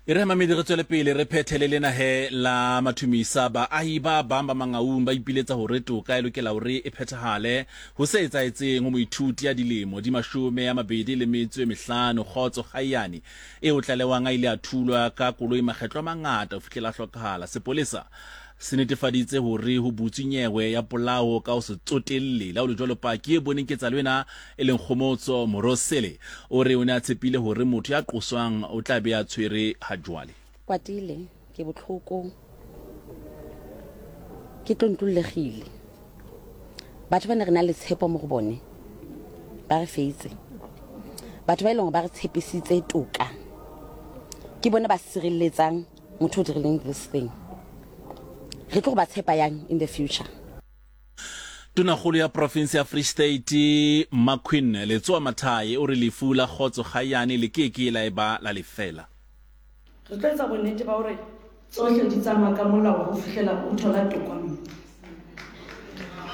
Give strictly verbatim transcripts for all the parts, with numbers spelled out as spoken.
E re mamedi re tswele pele re phethele lena he la mathumisa. Baahi ba bang ba Mangaung ba ipiletsa hore toka e lokela hore e phethahale ho se etsahetseng ho moithuti ya dilemo di mashome a mabedi le metso e mehlano, Kgotso Kgaiyane, eo tlalewang a ile a thulwa ka koloi makgetlo a mangata ho fihlela a hlokahala. Sepolesa se netefaditse hore ho butswe nyewe ya polao ka ho se tsotelle. Le ha ho le jwalo, paki e boneng ketsahalo ena e leng Kgomotso Morosele o re o ne a tshepile hore motho ya qoswang o tla be a tshwere ha jwale. Kwatile, ke botlhoko, ke tlontlolegile. Batho ba ne re na le tshepo mo go bone ba re feitse. Batho ba e leng gore ba re tshepisitse toka ke bone ba sireletsang motho o dirileng this thing. Re tlo go ba tshepa yang in the future? Tonakgolo ya province ya Free State Maqueen Letsoa Mathae o re lefu la Kgotso Kgaiyane le ke ke la eba la lefela. Re tlo etsa bonnete ba hore tsohle di tsamaya ka molao ho fihlela o thola toka mme.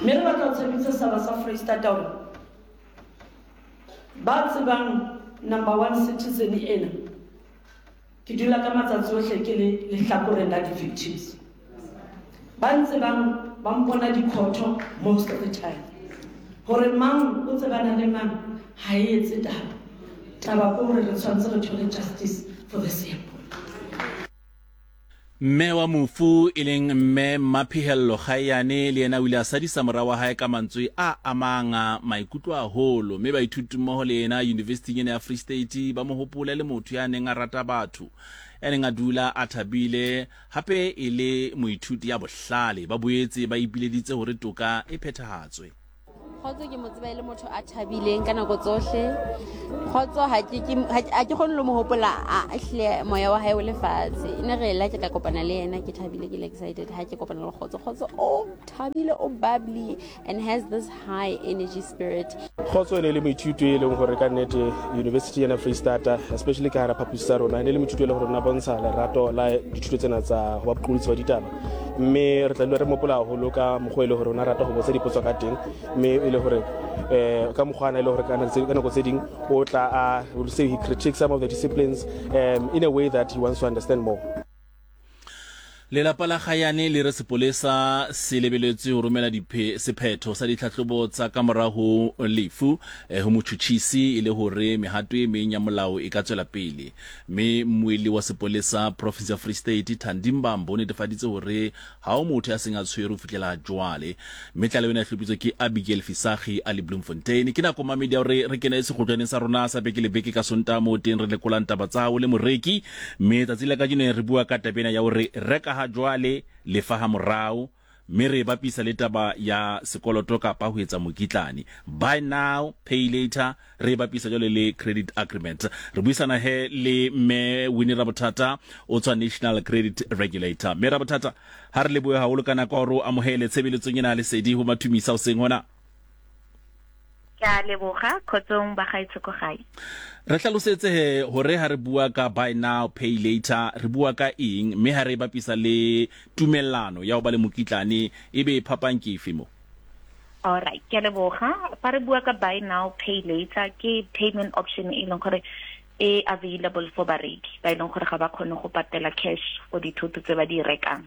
Mme re batla ho tshepisa setjhaba sa Freistata hore ba tsebang number one citizen ena, ke dula ka matsatsi ohle ke le lehlakoreng la di-victims. Ba ntsebang ba mpona dikhotho most of the time. Hore mang o tsebana le mang ha e etse taba. Taba ke hore re tshwanetse re thole justice for this young boy. Mme wa mofu e leng mme Maphihello Kgaiyane le yena o ile a sadisa mora wa hae ka mantswe a amang maikutlo haholo, mme baithuti mmoho le yena university ena ya Free State ba mo hopola le motho ya neng a rata batho, ya neng a dula a thabile, hape e le moithuti ya bohlale. Ba boetse ba ipileditse hore toka e phethahatswe. Kgotso ke mo tseba e le motho a thabileng ka nako tsohle. Kgotso ha ke ke ha ke kgone le mo hopola a ehlile moya wa hae o le fatshe. E ne re la ke ka kopana le yena ke thabile, ke le excited ha ke kopana le Kgotso. Kgotso o thabile, o bubbly and has this high energy spirit. Kgotso e ne le moithuti e leng hore ka nnete university ena Freistata, especially ka hara phaposi tsa rona, e ne le moithuti e leng hore o ne a bontsha lerato la dithuto tsena tsa ho ba boqolotsi ba ditaba, mme re tla dula re mopola haholo ka mokgwa e le hore o ne a rata ho botsa dipotso ka teng, mme e le hore eh ka mokgwa ana e le hore ka nako tse ding o tla a will say he critiques some of the disciplines um, in a way that he wants to understand more. Lelapa la Kgayane le re sepolesa se lebeletswe ho romela diphe sephetho sa ditlhahlobo tsa ka mora ho lefu eh, ho motjhutjhisi e le hore mehato e meng ya molao e ka tswela pele. Mme mmuelli wa sepolesa province ya Free State Thandi Mbambo o netefaditse hore ha ho motho ya seng a tshwerwe ho fihlela jwale. Mme tlaleho ena e hlophisitswe ke Abigail Fisagi a le Bloemfontein. Ke nako mamedi ya hore re kene sekgotlwaneng sa rona sa beke le beke ka Sontaha moo teng re lekolang taba tsa hao le moreki. Mme tsatsi la kajeno re bua ka taba ena ya hore reka ha jwale lefa ha morao, mme re bapisa le taba ya sekoloto kapa ho etsa mokitlane, buy now pay later, re bapisa jwale le credit agreement. Re buisana he le mme Winnie Rabothata o tswa National Credit Regulator. Mme Rabothata, ha re lebohe haholo ka nako hore o amohele tshebeletsong ena ya lesedi ho Mathumisa hoseng hona. Ke a leboga, kgotsong ba gaetsho ko gae. Re hlalosetse he hore ha re bua ka buy now pay later re bua ka eng, mme ha re bapisa le tumellano ya ho ba le mokitlane ebe phapang ke efe mo? Alright, ke a leboga. Fa re bua ka buy now pay later ke payment option e leng gore e available for bareki ba e leng gore ga ba kgone go patela cash for dithoto tse ba di rekang.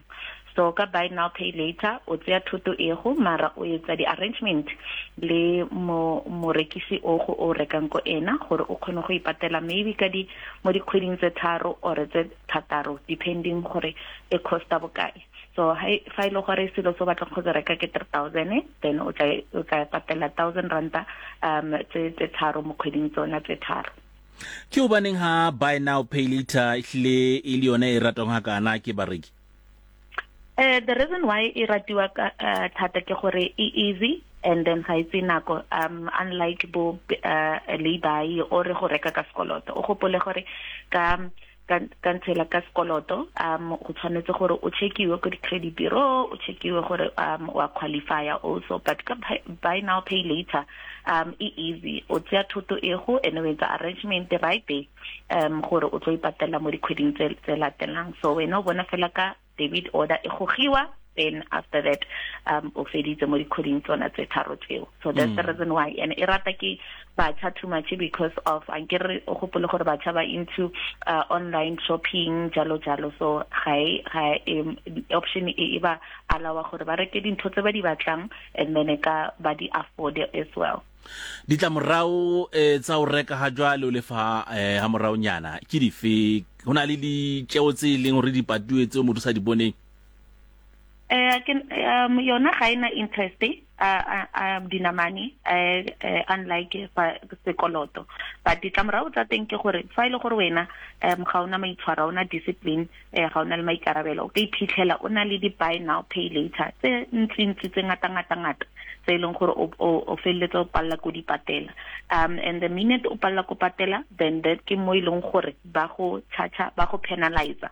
So ka buy now pay later o tseya thoto e go mara o etsa di-arrangement le mo morekisi o go o rekang ko ena gore o kgone go ipatela maybe ka di mo dikgweding tse tharo or tse thataro, depending gore e costa bokae. So fa e le gore selo se o batlang go se reka ke three thousand, then o tla o tla patela thousand ranta um tse tse tharo mo kgweding tsona tse tharo. Ke hobaneng ha buy now pay later ehlile e le yona e ratwang hakana ke bareki? Uh, the reason why e ratiwa ka uh, thata ke gore e easy and then ga itse nako, um unlike bo uh, lay-by or go reka ka sekoloto. O gopole gore ka ka ntshela ka sekoloto um go tshwanetse gore o checkiwe ko di-credit bureau, o checkiwe gore um wa qualify also. But ka buy now pay later um e easy, o tseya thoto e go and o etsa arrangement right there um gore o tlo ipatela mo dikgweding tse tse latelang. So wena o bona fela ka debit order e gogiwa Then after that um o feditse mo dikgweding tsona tse tharo tseo. So that's mm. the reason why. And e rata ke batjha too much because of ankere o gopole gore batjha ba into uh, online shopping jalo jalo, so ga e ga e option e e ba allow gore ba reke dintho tse ba di batlang and then e ka ba di afford as well. Ditlamorao eh, tsa ho reka ha jwale o lefa eh, ha moraonyana ke dife? Ho na le ditjeo tse leng hore di patuwe tseo motho sa di boneng? Eh ke um yona ga ena interest uh, uh, dinamane uh, uh, unlike fa sekoloto, but ditlamorao tsa teng ke gore fa ile gore wena um ga ona maitshwaro, ona discipline, eh ga ona le maikarabelo, o ka iphitlhela o na le di buy now pay later tse ntsi ntsi tse ngata ngata ngata tse e leng gore o o felletse o palla ko di patela. Um and the minute o palla ko patela, then that ke mo e leng gore ba go charge, ba go penalize.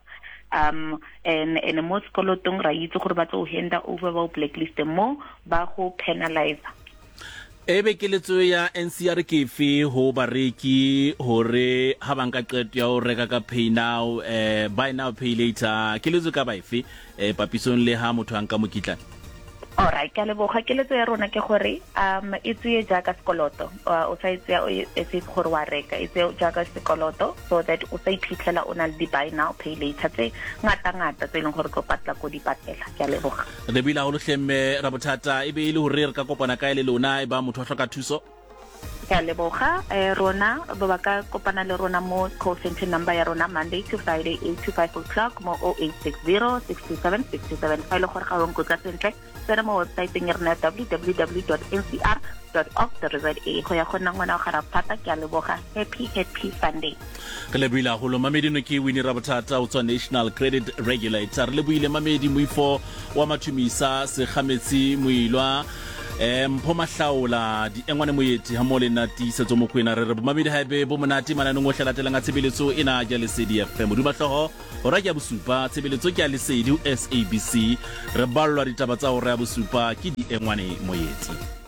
Um and and mo sekolotong ra itse gore ba tlo henda over ba blacklist mo ba go penalize. Ebe keletso ya N C R ke efe ho bareki hore ha ba nka qeto ya ho reka ka pay now, eh, buy now pay later, keletso ka ba efe eh, papisong le ha motho a nka mokitlane? Alright, ke a leboga. Keletso ya rona ke gore um e tseye jaaka sekoloto, o sa e tseya e se gore wa reka, e tseye jaaka sekoloto so that o sa iphitlhela o na le di-buy now pay later tse ngata-ngata tse e leng gore tlo patla ko di patela. Ke a leboga. Re buile haholo hle mme Rabothata, e be e le hore re ka kopana kae le lona e ba motho a hloka thuso? Ke a leboga. Eh rona ba ba ka kopana le rona mo call center number ya rona Monday to Friday eight to five o'clock mo oh eight six zero, six two seven, six two seven. Fa ile gore ga o nkutlwa sentle, tsena mo website-eng ya rona w w w dot n c r dot org dot z a go ya go nna ngwana wa ga Rabothata. Ke a leboga. Happy happy Sunday. Re lebohile haholo Mamedi. No ke Winnie Rabothata o tswa National Credit Regulator. Re lebohile Mamedi Moifo wa Mathumisa Sekgametsi Moilwa, eh Mpho Mahlaola, Diengwane Moeti ha mo le nna Tiisetso Mokwena. Re re bomamedi haebe bo monate mananeng ohle latelang a tshebeletso ena ya Lesedi F M. Moduma hlooho hora ke ya bosupa, tshebeletso ke ya Lesedi ho S A B C. Re ballwa ditaba tsa hora ya bosupa ke Diengwane Moeti.